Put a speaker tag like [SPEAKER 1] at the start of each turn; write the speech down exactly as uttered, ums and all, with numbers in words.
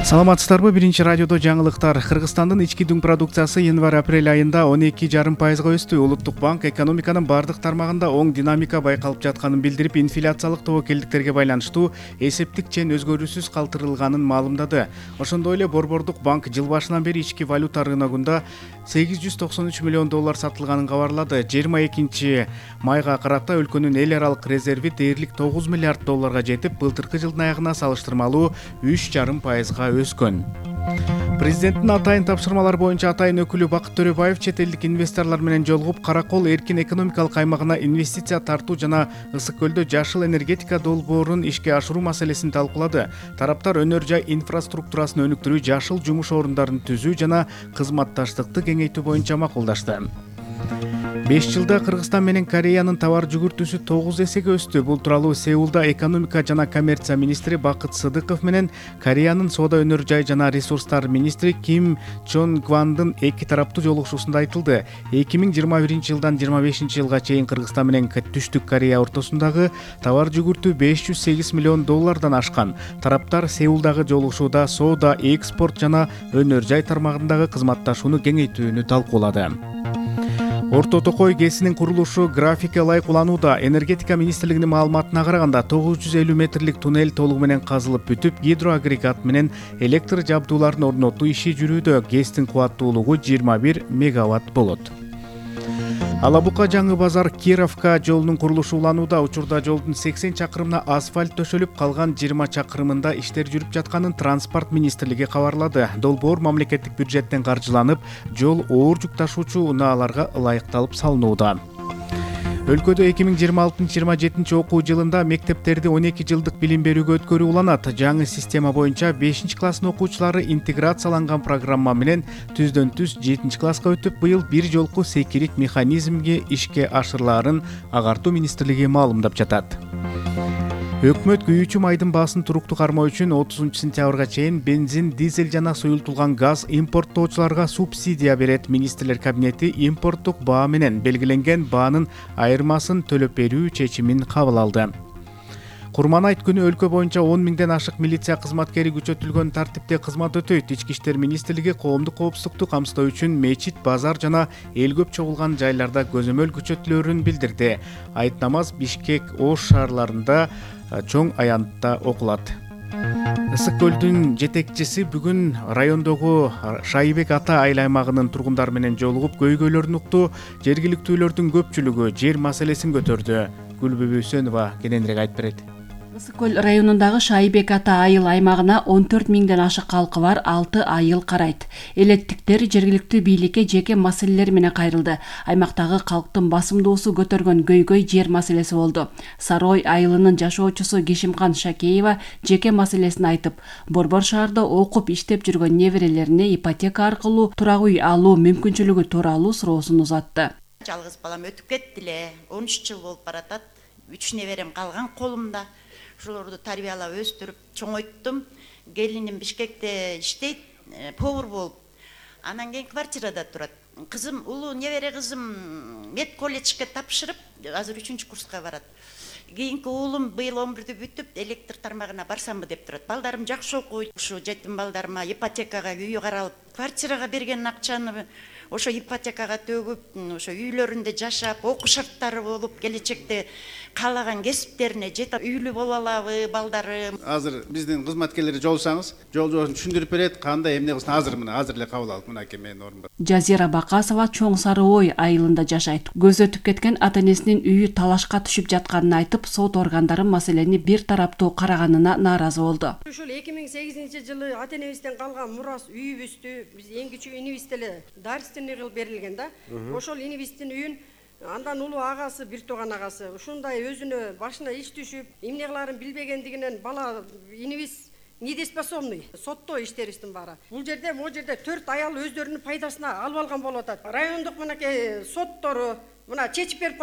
[SPEAKER 1] Саламатсыздарбы? Биринчи радиодо жаңылыктар. Кыргызстандын ички дүң продукциясы январь-апрель айында он эки жарым пайызга өстү. Улуттук банк экономиканын бардык тармагында оң динамика байкалып жатканын билдирип, инфляциялык тобокелдиктерге байланыштуу эсептик чен өзгөрүүсүз калтырылганын маалымдады. Ошондой эле Борбордук банк жыл башынан бери ички валюта рыногунда сегиз жүз токсон үч миллион доллар сатылганын кабарлады. жыйырма экинчи майга карата өлкөнүн эл аралык резерви дээрлик тогуз миллиард долларга жетип, былтыркы жылдын аягына салыштырмалуу үч жарым пайызга өскөн. Президенттин атайын тапшырмалар боюнча атайын өкүлү Бакыт Төрөбаев чет элдик инвесторлор менен жолугуп, Каракол эркин экономикалык аймагына инвестиция тартуу жана Ысык көлдө жашыл энергетика долбоорун ишке ашыруу маселесин талкуулады. Тараптар өнөр жай инфраструктурасын өнүктүрүү, жашыл жумуш орундарын түзүү жана кызматташтыкты кеңейтүү боюнча макулдашты. беш жылда Кыргызстан менен Кореянын товар жүгүртүүсү тогуз эсеге өстү. Бул тууралуу Сеулда экономика жана коммерция министри Бакыт Сыдыков менен Кореянын соода, өнөр жай жана ресурстар министри Ким Чон Гвандын эки тараптуу жолугушуусунда айтылды. эки миң жыйырма биринчи жылдан жыйырма бешинчи жылга чейин Кыргызстан менен Түштүк Корея ортосундагы товар жүгүртүү беш жүз сегиз миллион доллардан ашкан. Тараптар Сеулдагы жолугушууда соода, экспорт жана өнөр жай тармагындагы кызматташууну кеңейтүүнү талкуулады. Орто Токой ГЭСинин курулушу графикке ылайык уланууда. Энергетика министрлигинин маалыматына караганда тогуз жүз элүү метрлик туннель толугу менен казылып бүтүп, гидроагрегат менен электр жабдууларын орнотуу иши жүрүүдө. ГЭСтин кубаттуулугу жыйырма бир мегаватт болот. Алабука жаңы базар Кировка жолунун курулушу уланууда. Учурда жолдун сексен чакырымына асфальт төшөлүп, калган жыйырма чакырымында иштер жүрүп жатканын Транспорт министрлиги кабарлады. Долбоор мамлекеттик бюджеттен каржыланып, жол оор жүк ташуучу унааларга ылайыкталып салынууда. Өлкөдө эки миң жыйырма алтынчы жыйырма жетинчи окуу жылында мектептерди он эки жылдык билим берүүгө өткөрүү уланат. Жаңы система боюнча бешинчи класстын окуучулары интеграцияланган программа менен түздөн түз жетинчи класска өтүп, быйыл бир жолку секирик механизмге ишке ашырылаарын Агартуу министрлиги маалымдап жатат. Өкмөт күйүүчү майдын баасын туруктуу кармоо үчүн отузунчу сентябрга чейин бензин, дизель жана суюлтулган газ импорттоочуларга субсидия берет. Министрлер кабинети импорттук баа менен белгиленген баанын айырмасын төлөп берүү чечимин кабыл алды. Курман айт күнү өлкө боюнча он миңден ашык милиция кызматкери күчөтүлгөн тартипте кызмат өтөйт. Ички иштер министрлиги коомдук коопсуздукту камсыздоо үчүн мечит, базар жана эл көп чогулган жайларда көзөмөл күчөтүлөөрүн билдирди. Айт намаз Бишкек, Ош шаарларында чоң аянтта окулат. Ысык көлдүн жетекчиси бүгүн райондогу Шайбек Ата айыл аймагынын тургундары менен жолугуп, көйгөйлөрүн укту. Жергиликтүүлөрдүн көпчүлүгү жер маселесин көтөрдү. Гүлбүбү Үсөнова кененирээк айтып берет.
[SPEAKER 2] Ысык көл районундагы Шайбек Ата айыл аймагына он төрт миңден ашык калкы бар алты айыл карайт. Элеттиктер жергиликтүү бийликке жеке маселелер менен кайрылды. Аймактагы калктын басымдуусу көтөргөн көйгөй жер маселеси болду. Сарой айылынын жашоочусу Кишимкан Шакеева жеке маселесин айтып, Борбор шаарда окуп иштеп жүргөн неберелерине ипотека аркылуу турак үй алуу мүмкүнчүлүгү тууралуу суроосун узатты.
[SPEAKER 3] Жалгыз балам өтүп кетти эле, он үч жыл болуп баратат. үч неберем калган колумда. Ошолорду тарбиялап өстүрүп чоңойттум. Келиним Бишкекте иштейт, повар болуп. Анан кийин квартирада турат. Кызым, улуу небере кызым мед колледжге тапшырып, азыр үчүнчү курска барат. Кийинки уулум быйыл он бирди бүтүп, электр тармагына барсамбы деп турат. Балдарым жакшы окуйт. Ушу жетим балдарыма ипотекага үй каралып, квартирага берген акчаны ошо ипотекага төгүп, ошо үйлөрүндө жашап, окуу шарттары болуп, келечекте каалаган кесиптерине жетип үйлүү боло алабы балдары.
[SPEAKER 4] Азыр биздин кызматкерлер жолсаңыз, жол жолун түшүндүрүп берет, кандай эмне кылсын. Азыр мына азыр эле кабыл алып, мынакей менин орунда.
[SPEAKER 2] Жазира Бакасова Чоң Сары Ой айылында жашайт. Көз өтүп кеткен ата энесинин үйү талашка түшүп жатканын айтып, сот органдары маселени бир тараптуу караганына нааразы болду.
[SPEAKER 5] Ушул эки миң сегизинчи жылы ата энебизден калган мурас үйүбүздү биз эң кичүү инибиз деле дарственный кылып берилген да. Ошол инибиздин үйүн андан улуу агасы, бир тууган агасы ушундай өзүнө башына иш түшүп, эмне кылаарын билбегендигинен бала инибиз недееспособный. Сотто иштерибиздин баары. Бул жерде, могу жерде төрт аял өздөрүнүн пайдасына алып алган болуп атат. Райондук мынакей соттору мына чечип берип